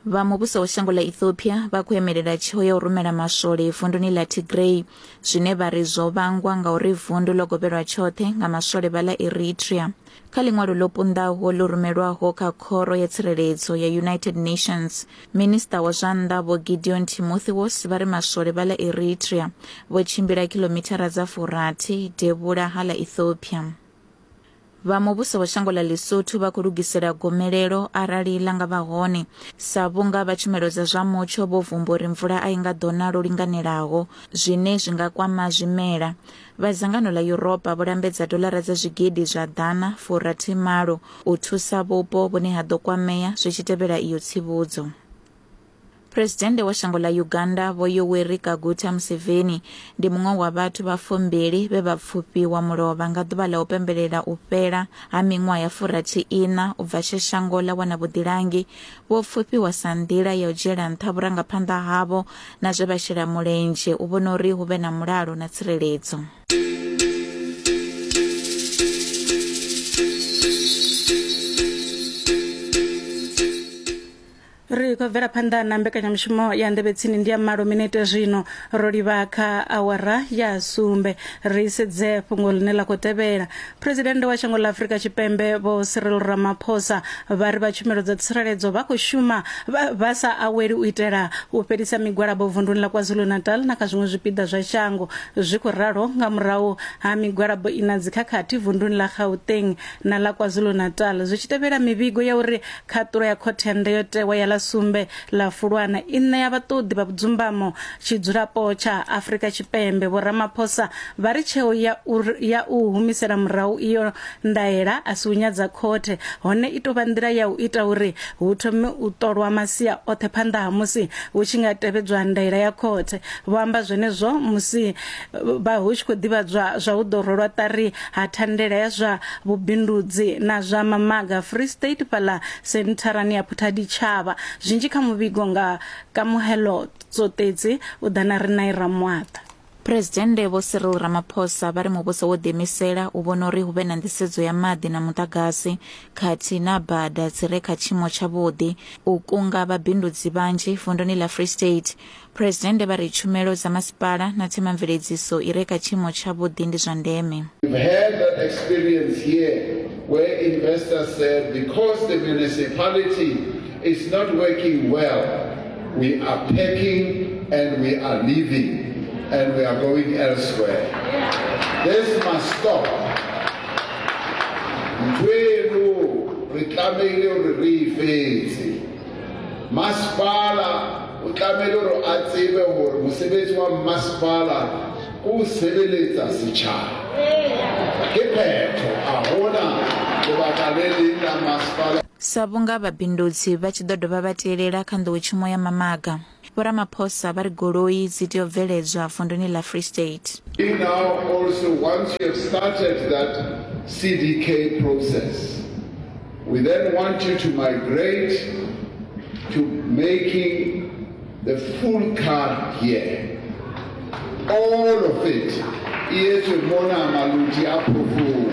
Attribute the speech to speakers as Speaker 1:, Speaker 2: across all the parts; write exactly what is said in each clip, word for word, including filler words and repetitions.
Speaker 1: Vha muvhuso wa shango ḽa Ethiopia vha khou emelela tsheo ya u rumela maswole vunduni ḽa Tigray, zwine vha ri zwo vhangwa nga uri vundu ḽo govhelwa tshoṱhe nga maswole vha ḽa Eritrea. Kha ḽiṅwalo ḽo punḓaho ḽo rumelwaho kha Khoro ya Tsireledzo ya United Nations, Minisiṱa wa zwa Nnḓa Vho Gideon Timotheos vha ri maswole vha ḽa Eritrea vho tshimbila khilomithara dza furathi devhula ha ḽa Ethiopia. Vha muvhuso wa shango ḽa Lesotho vha khou lugisela gomelelo arali ḽa nga vha hone, sa vhunga vha tshumelo dza zwa mutsho vho vumba uri mvula a i nga ḓo na lwo linganelaho, zwine zwi nga kwama zwimela. Vha dzangano ḽa Yuropa vho lambedza doḽara dza zwigidi zwa ḓana furathi malo u thusa vhupo vhune ha ḓo kwamea zwi tshi tevhela iyo tsivhudzo. Phresidennde wa shango ḽa Uganda Vho Yoweri Kaguta Museveni ndi muṅwe wa vhathu vha fumbili vhe vha pfufhiwa mulovha nga ḓuvha ḽa u pembelela u fhela ha miṅwaha ya furathi iṋa u bva tshe shango ḽa wana vhuḓilangi. Vho pfufhiwa sa nḓila ya u dzhiela nṱha vhurangaphanḓa havho na zwe vha shela mulenzhe u vhona uri hu vhe na mulalo na tsireledzo.
Speaker 2: Ri khou bvela phanḓa na mbekanyamushumo ya Nḓevhe Tsini ndi ya malo minete zwino ro livha kha awara ya sumbe. Ri sedze fhungo ḽine ḽa khou tevhela. Presidennde wa shango ḽa Afrika Tshipembe Vho Cyril Ramaphosa vha ri vha tshumelo dza tsireledzo vha khou shuma vha sa aweli u itela u fhelisa migwalabo vunduni ḽa KwaZulu-Natal na kha zwiṅwe zwipiḓa zwa shango. Zwi khou ralo nga murahu ha migwalabo ina dzikhakhathi vunduni ḽa Gauteng na ḽa KwaZulu-Natal, zwi tshi tevhela mivhigo ya uri khaṱulo ya khothe ya ndayotewa ya ḽa sumbe ḽa Fulwana i ṋea vhaṱoḓi vha vhudzumbamo tshidzulapo tsha Afrika Tshipembe. Vho Ramaphosa vha ri tsheo ya u, ya u humisela murahu iyo ndaela a si u nyadza khothe, hone i tou vha nḓila ya u ita uri hu thome u ṱolwa masia oṱhe phanḓa ha musi hu tshi nga tevhedzwa ndaela ya khothe. Vho amba zwenezwo musi vha hu tshi khou ḓivhadzwa zwa u ḓo rwelwa ṱari ha thandela ya zwa vhubindudzi na zwa mamaga Free State fhaḽa sentharani ya Phuthaditjhaba. Zwinzhi kha muvhigo nga Kamuhelo Tsotetsi u ḓa na Rinai Ramwata.
Speaker 1: Phresidennde Vho Cyril Ramaphosa vha ri muvhuso wo ḓiimisela u vhona uri hu vhe na nḓisedzo ya maḓi na muḓagasi khathihi na bada dzi re kha tshiimo tshavhuḓi u kunga vhabindudzi vhanzhi vunduni ḽa Free State. Phresidennde vha ri tshumelo dza masipala na themamveledziso i re kha tshiimo tshavhuḓi ndi zwa ndeme.
Speaker 3: We've had that experience here where investors said because the municipality is not working well, we are packing and we are leaving and we are going elsewhere. This must stop. Ntho eno re tlamehile hore re e fetse. Masepala o tlamehile hore a tsebe hore mosebetsi wa masepala ke ho sebeletsa setjhaba. Ke phetho, a hona lebaka le leng la masepala.
Speaker 1: Sa vhunga vhabindudzi vha tshi ḓo dovha vha tielela kha nḓowetshumo ya mamaga, Vho Ramaphosa vha ri goloi dzi tea u bveledzwa vunduni ḽa Free State.
Speaker 3: We now also, once you have started that C D K process, we then want you to migrate to making the full car here. All of it. E etswe mona Maluti a Phofung.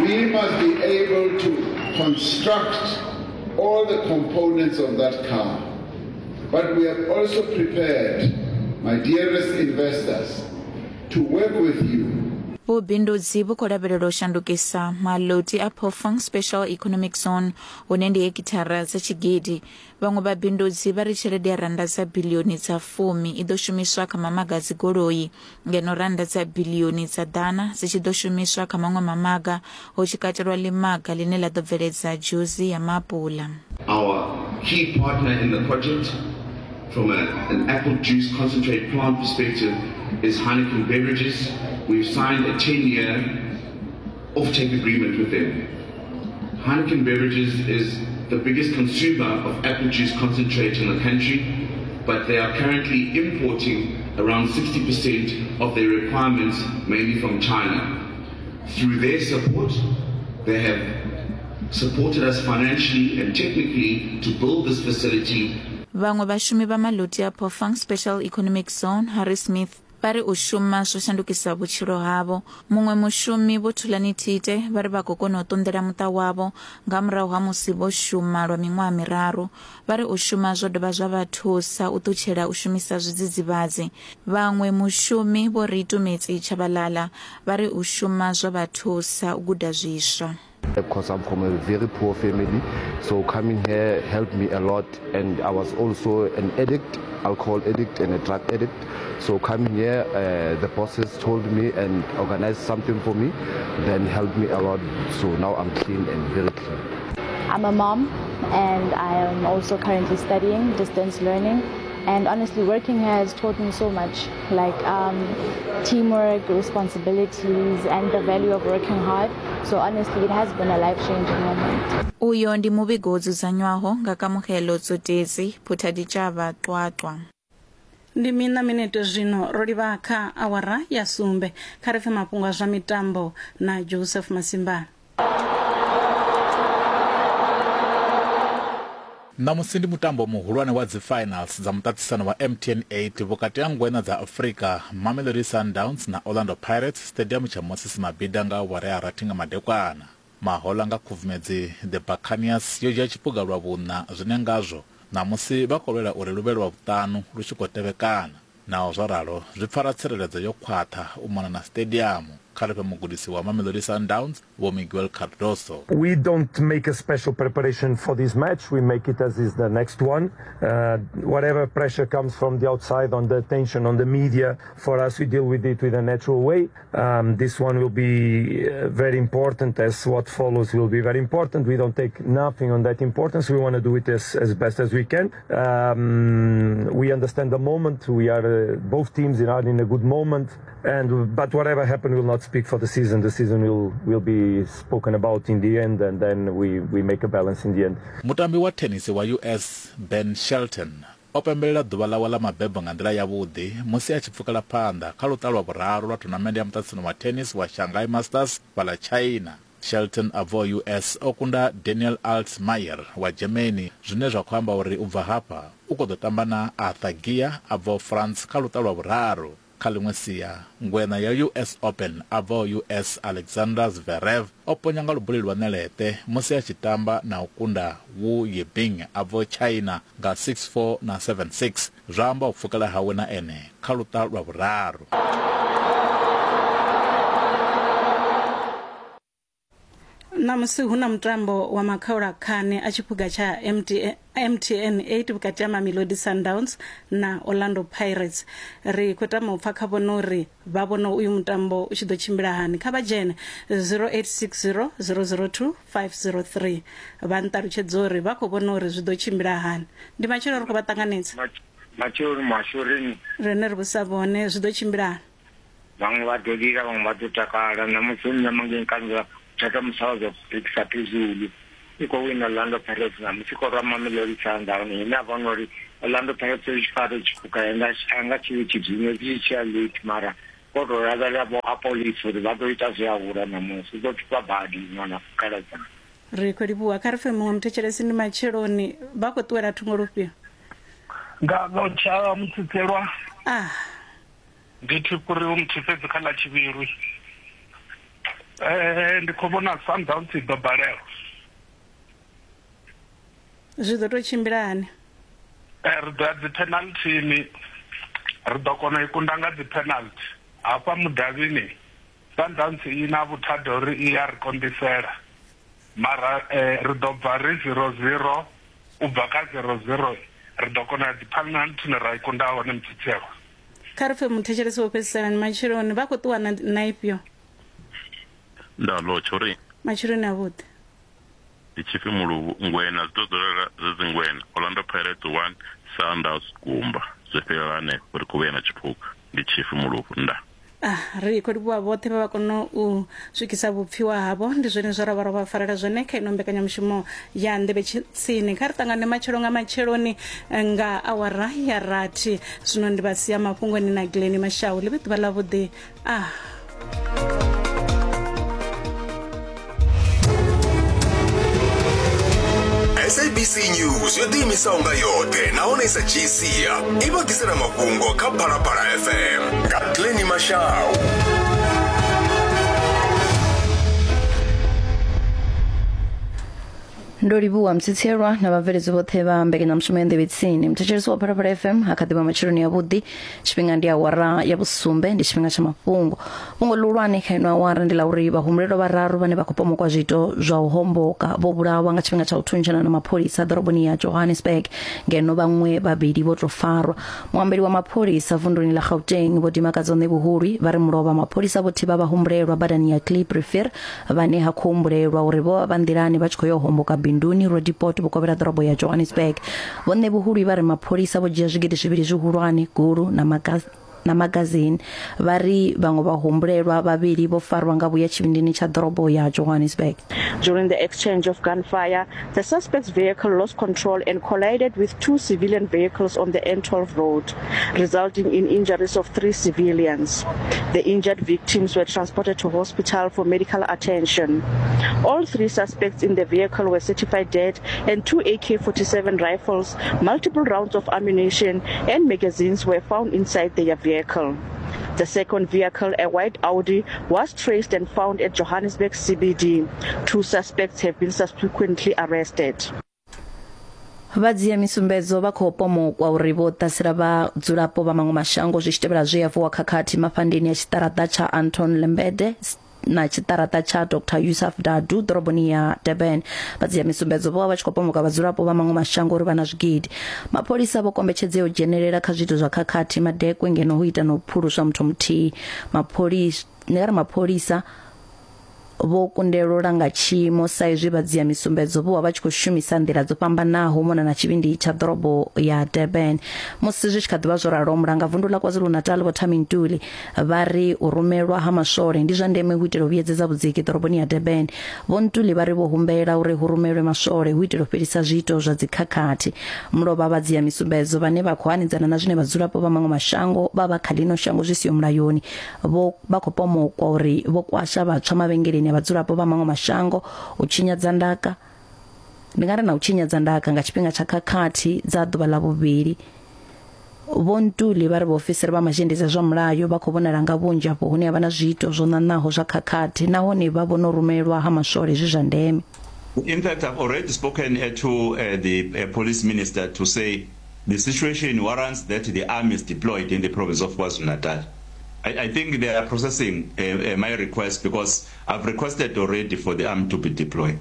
Speaker 3: We must be able to construct all the components of that car. But we have also prepared, my dearest investors, to work with you.
Speaker 1: Vhubindudzi vhu khou lavhelelwa u shandukisa Maloti a Phofung Special Economic Zone hune ndi hekithara dza tshigidi. Vhaṅwe vhabindudzi vha ri tshelede ya rannda dza biḽioni dza fumi i ḓo shumiswa kha mamaga a dzigoloi, ngeno rannda dza biḽioni dza ḓana dzi tshi ḓo shumiswa kha maṅwe mamaga, hu tshi katelwa ḽimaga ḽine ḽa ḓo bveledza dzhusi ya maapula.
Speaker 4: Our key partner in the project from a, an apple juice concentrate plant perspective is Heineken Beverages. We've signed a ten-year offtake agreement with them. Heineken Beverages is the biggest consumer of apple juice concentrate in the country, but they are currently importing around sixty percent of their requirements, mainly from China. Through their support, they have supported us financially and technically to build this facility.
Speaker 1: Vhaṅwe vhashumi vha Maloti a Phofung Special Economic Zone, Harry Smith, Vha ri u shuma zwo shandukisa vhutshilo havho. Muṅwe mushumi Vho Thulani Thite vha ri vha khou kona u ṱunḓela muṱa wavho nga murahu ha musi vho shuma lwa miṅwaha miraru. Vha ri u shuma zwo dovha zwa vha thusa u ṱutshela u shumisa zwidzidzivhadzi. Vhaṅwe mushumi Vho Ritumetsi Tshabalala vha ri u shuma zwo vha thusa u guda zwiswa.
Speaker 5: Because I'm from a very poor family, so coming here helped me a lot, and I was also an addict, alcohol addict and a drug addict. So coming here, uh, the bosses told me and organized something for me, then helped me a lot. So now I'm clean and very clean.
Speaker 6: I'm a mom and I am also currently studying distance learning. And honestly, working here has taught me so much, like um, teamwork, responsibilities, and the value of working hard. So honestly, it has been a life-changing moment.
Speaker 1: Uyo ndi muvhigo wo dzudzanywaho nga Kamogelo Tsotesi, Phuthaditjhava, Qwaqwa.
Speaker 2: Ndi mina minete zwino ro livha kha awara ya sumbe. Kha ri pfe mafhungo a zwa mitambo na Joseph Masimbana.
Speaker 7: Ṋamusi ndi mutambo muhulwane wa dzi-finals dza muṱaṱisano wa M T N eight vhukati ha ngwena dza Afrika, Mamelodi Sundowns na Orlando Pirates stadium tsha Moses Mabhida nga awara ya rathi nga madekwana. Mahola nga Khubvumedzi The Buccaneers yo dzhia tshiphuga lwa vhuṋa, zwine ngazwo ṋamusi vha khou lwela uri luvhe lwa vhuṱanu lu tshi khou tevhekana. Naho zwo ralo, zwi pfara tsireledzo yo khwaṱha u mona na stadium. Kha ri fhe mugudisi wa Mamelodi Sundowns Vho Miguel Cardoso.
Speaker 8: We don't make a special preparation for this match. We make it as is the next one. Uh, whatever pressure comes from the outside on the attention, on the media, for us we deal with it with a natural way. Um, this one will be very important, as what follows will be very important. We don't take nothing on that importance. We want to do it as, as best as we can. Um, we understand the moment. We are uh, both teams are in a good moment, and but whatever happens will not speak for the season. The season will will be spoken about in the end, and then we we make a balance in the end.
Speaker 7: Mutambi wa tennis wa U S Ben Shelton o pembelela ḓuvha ḽawe ḽa mabebo nga nḓila yavhuḓi musi a tshi pfukela phanḓa kha luṱa lwa vhuraru lwa thonamennde ya muṱaṱisano wa tennis wa Shanghai Masters fhaḽa China. Shelton a bvaho U S o kunda Daniel Altmaier wa Germany, zwine zwa khou amba uri u bva hafha u khou ḓo tamba na Arthur Gia a bvaho France kha luṱa lwa vhuraru. Kha ḽiṅwe sia, ngwena ya U S Open a bvaho U S Alexander Zverev o ponya nga lubuli lwa ṋeleṱe musi a tshi tamba na u kunda Wu Yibing a bvaho China nga six four na seven six, zwa amba u pfukela hawe na ene kha luṱa lwa vhuraru.
Speaker 2: Ṋamusi hu na mutambo wa makhaulakhani a tshiphuga tsha M T N eight vhukati ha Mamelodi Sundowns na Orlando Pirates. Ri khou tama u pfa kha vhone uri vha vhona uyu mutambo u tshi ḓo tshimbila hani. Kha vha dzhene zero eight six zero zero zero two five zero three vha nṱalutshedza uri vha khou vhona uri zwi ḓo tshimbila hani. Ndi matshelo ri khou vha ṱanganedza.
Speaker 9: Matshelo mashurini.
Speaker 2: Rine ri vhusa vhone zwi ḓo tshimbila hani.
Speaker 9: Vhaṅwe vha ḓo lila, vhaṅwe vha ḓo takala. Ṋamusi nṋe mangeni kanzela thatha msakazo kuphikisa phezulu iko wina Orlando Pirates namusi ko rwa Mamelodi Sundowns ine a vhona uri Orlando Pirates i tshi fara tshiphuka anga anga tshi tshi dzine tshi tshi ya late, mara ko to lavhelela vho Apolice uri vha ḓo ita zwi a hula namusi ḓo thupha badi ṅwana khaladza.
Speaker 2: Ri khou livhuwa. Kha ri pfe muṅwe muthetshelesi. Ndi matsheloni, vha khou ṱuwela thungo lufhio?
Speaker 10: Nga ḽo mutsitselwa
Speaker 2: ah
Speaker 10: ndi thi kuri u muthifhedzi kha ḽa tshivhilwi. Eh ndi khou vhona Sundowns i ḓo balelwa.
Speaker 2: Zwi ḓo tou tshimbila hani?
Speaker 10: Eh ri ḓo ya dzi penalty, ri ḓo kona i kunda nga dzi penalty. Hafha mudavhini Sundowns i na vhuthada uri i ya ri konḓisela, mara eh, ri ḓo bva ri zero zero, u bva kha zero zero ri ḓo kona ya dzi penalty ra i kunda hone mutsitselwa.
Speaker 2: Kha ri pfe muthetshelesi wo fhedzisela. Ni matsheloni, vha khou ṱuwa na ifhio?
Speaker 11: Nda lotsha uri
Speaker 2: matsheloni avhuḓi.
Speaker 11: Ndi tshipfi muluvhu ngwena zwi ḓo dzulela zwi dzi ngwena. Orlando Pirates one, Sundowns gumba. Zwi fhelela hanefho ri khou vhuya na tshiphuga. Ndi tshipfi muluvhu nda.
Speaker 2: Ah, ri khou livhuwa vhoṱhe vha vha kona u swikisa vhupfiwa havho. Ndi zwone zwo ra vha ro vha farela zwone kha ino mbekanyamushumo ya Nḓevhe Tsini. Kha ri ṱangane matshelo nga matsheloni nga awara ya rathi. Zwino ndi vha sia mafhungoni na Glenn Mashau. Ḽi vhe ḓuvha ḽavhuḓi. Ah.
Speaker 12: S A S A B C News yo ḓiimisaho nga yoṱhe nahone i sa dzhii sia i vha ḓisela mafhungo kha Phalaphala F M nga Glennie Mashau.
Speaker 13: Ndo livhuwa mtsitselwa na vhabveledzi vhoṱhe vha mbekanyamushumo ya Nḓevhe Tsini. Muthetshelesi wa Phalaphala F M ha kha ḓivha matsheloni avhuḓi. Tshifhinga ndi awara ya vhusumbe, ndi tshifhinga tsha mafhungo. Fhungo ḽihulwane kha ino awara ndi ḽa uri vhahumbulelwa vhararu vhane vha khou pomokwa zwiito zwa u homboka vho vhulawa nga tshifhinga tsha u thuntshana na mapholisa ḓoroboni ya Johannesburg, ngeno vhaṅwe vhavhili vho tou farwa. Muambeli wa mapholisa vunduni ḽa Gauteng Vho Dimakatso Ṋevhuhulwi vha ri mulovha mapholisa vho thivha vhahumbulelwa badani ya Kliprivier vhane ha khou humbulelwa uri vho vha vha nḓilani vha tshi khou yo homboka binduni Roodepoort vhukovhela ḓorobo ya Johannesburg. Vho Ṋevhuhulwi vha ri mapholisa vho dzhia zwigidi zwivhili zwihulwane, gulu na magazini na magazine. Vha ri vhaṅwe vhahumbulelwa vhavhili vho farwa nga vhuya tshivhindini tsha ḓorobo ya Johannesburg.
Speaker 14: During the exchange of gunfire, the suspect's vehicle lost control and collided with two civilian vehicles on the N twelve road, resulting in injuries of three civilians. The injured victims were transported to hospital for medical attention. All three suspects in the vehicle were certified dead, and two A K forty-seven rifles, multiple rounds of ammunition, and magazines were found inside their vehicle. The second vehicle, a white Audi, was traced and found at Johannesburg C B D. Two suspects have been subsequently arrested.
Speaker 13: Vhadzia misumbedzo vha khou pomokwa uri vho ṱasela vhadzulapo vha maṅwe mashango zwi tshi tevhela zwe ya vuwa khakhathi mafhandeni ya tshiṱaraṱa tsha Anton Lembede na tshiṱaraṱa tsha Doctor Yusuf Dadu ḓoroboni ya Durban. Vhadzia misumbedzo vho vha vha tshi khou pomoka vhadzulapo vha maṅwe mashango uri vha na zwigidi. Mapholisa vho kombetshedzea u dzhenelela kha zwiito zwa khakhathi madekwe ngeno hu ita na u phuluswa muthu muthihi. Mapholisa ndi nga ri mapholisa vho kundelwa u langa tshiimo sa izwi vhadzia misumbedzo vho vha vha tshi khou shumisa nḓila dzo fhambanaho mona na tshivhindi tsha ḓorobo ya Durban. Musi zwi tshi kha ḓivha zwo ralo, mulanga vundu ḽa KwaZulu-Natal Vho Thami Ntuli vha ri u rumelwa ha maswole ndi zwa ndeme hu itela u vhuyedzedza vhudziki ḓoroboni ya Durban. Vho Ntuli vha ri vho humbela uri hu rumelwe maswole hu itela u fhelisa zwiito zwa dzikhakhathi. Mulovha vhadzia misumbedzo vhane vha khou hanedzana na zwine vhadzulapo vha maṅwe mashango vha vha kha ḽino shango zwi siho mulayoni vho vha khou pomokwa uri vho kwasha vhatswa mavhengeleni vhadzulapo vha maṅwe mashango, u tshinyadza ndaka ndi nga ri na u tshinyadza ndaka nga tshifhinga tsha khakhathi dza ḓuvha ḽa vhuvhili. Vho Ntuli vha ri vhaofisiri vha mazhendedzi a zwa mulayo vha khou vhonala nga vhunzhi afho hune ha vha na zwiito zwo ṋaṋaho zwa khakhathi nahone vha vhona u rumelwa ha maswole zwi zwa ndeme.
Speaker 15: In fact, I've already spoken uh, to uh, the uh, police minister to say the situation warrants that the army is deployed in the province of KwaZulu-Natal. I, I think they are processing uh, uh, my request because I've requested already for the army to be deployed.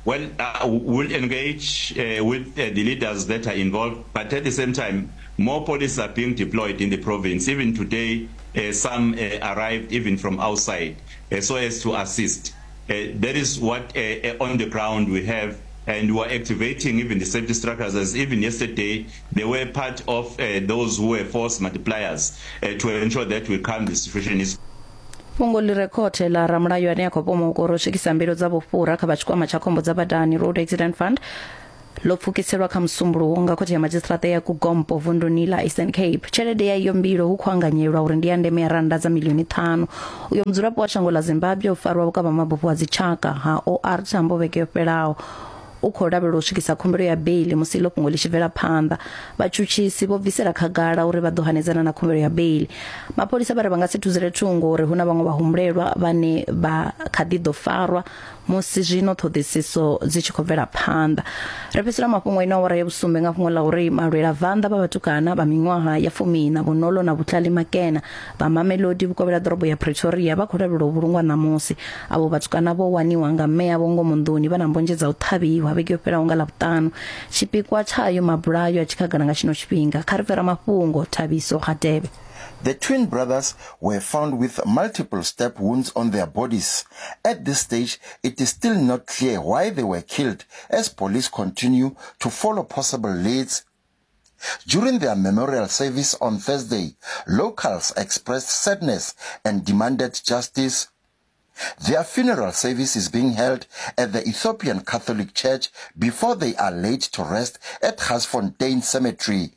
Speaker 15: Well, uh, we'll engage uh, with uh, the leaders that are involved, but at the same time, more police are being deployed in the province. Even today, uh, some uh, arrived even from outside, uh, so as to assist. Uh, that is what uh, uh, on the ground we have, and we are activating even the safety structures. As even yesterday, they were part of uh, those who were force multipliers uh, to ensure that we calm the situation. Is
Speaker 13: Fhungo ḽi re khothe ḽa ramulayo ane a khou pomokwa uri u swikisa mbilo dza vhufhura kha vha tshikwama tsha khombo dza badani Road Accident Fund ḽo pfukiselwa kha musumbuluwo nga khothe ya madzhisiṱiraṱa ya Kugompo vunduni ḽa Eastern Cape. Tshelede ya iyo mbilo hu khou anganyelwa uri ndi ya ndeme ya rannda dza milioni ṱhanu. Uyo mudzulapo wa shango ḽa Zimbabwe o farwa vhukavha mabufho a dzitshaka ha O R Tambo vhege yo fhelaho. U khou lavhelelwa u swikisa khumbelo ya beili musi ḽo fhungo ḽi tshi bvela phanḓa. Vhatshutshisi vho bvisela khagala uri vha ḓo hanedzana na khumbelo ya beili. Mapholisa vha ri vha nga si thuzele thungo uri hu na vhaṅwe vhahumbulelwa vhane vha kha ḓi ḓo farwa musi zwino ṱhoḓisiso dzi tshi khou bvela phanḓa. Ri fhedzisela mafhungo ino awara ya vhusumbe nga fhungo ḽa uri malwela vanḓa vha vhatukana vha miṅwaha ya fumiiṋa Bonolo na Vhutlali Makena vha Mamelodi vhukovhela ḓorobo ya Pretoria vha khou lavhelelwa u vhulungwa ṋamusi. Avho vhatukana vho waniwa nga mme avho ngomu nḓuni vha na mbonzhe dza u ṱhavhiwa vhege yo fhelaho nga Ḽavhuṱanu. Tshipikwa tshayo mabulayo a tshi khagala nga tshino tshifhinga. Kha ri fhera mafhungo Thabiso Hadebe.
Speaker 16: The twin brothers were found with multiple stab wounds on their bodies. At this stage, it is still not clear why they were killed, as police continue to follow possible leads. During their memorial service on Thursday, locals expressed sadness and demanded justice. Their funeral service is being held at the Ethiopian Catholic Church before they are laid to rest at Garsfontein Cemetery.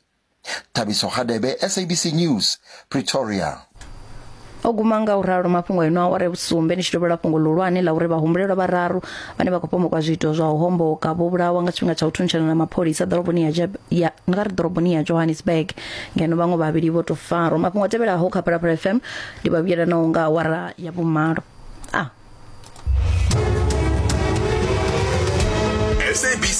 Speaker 16: Thabiso Hadebe, S A B C News, Pretoria.
Speaker 13: O guma nga u ralo mafhungo ino awara ya vhusumbe ni tshi dovholola fhungo ḽihulwane ḽa uri vhahumbulelwa vhararu vhane vha khou pomokwa zwiito zwa u homboka vho vhulawa nga tshifhinga tsha u thuntshana na mapholisa ḓoroboni ya ya nga ri ḓoroboni ya Johannesburg, ngeno vhaṅwe vhavhili vho tou farwa. Mafhungo a tevhelaho kha Phalaphala F M ndi vha vhuyelanaho nga awara ya vhumalo. Ah.
Speaker 12: S A B C.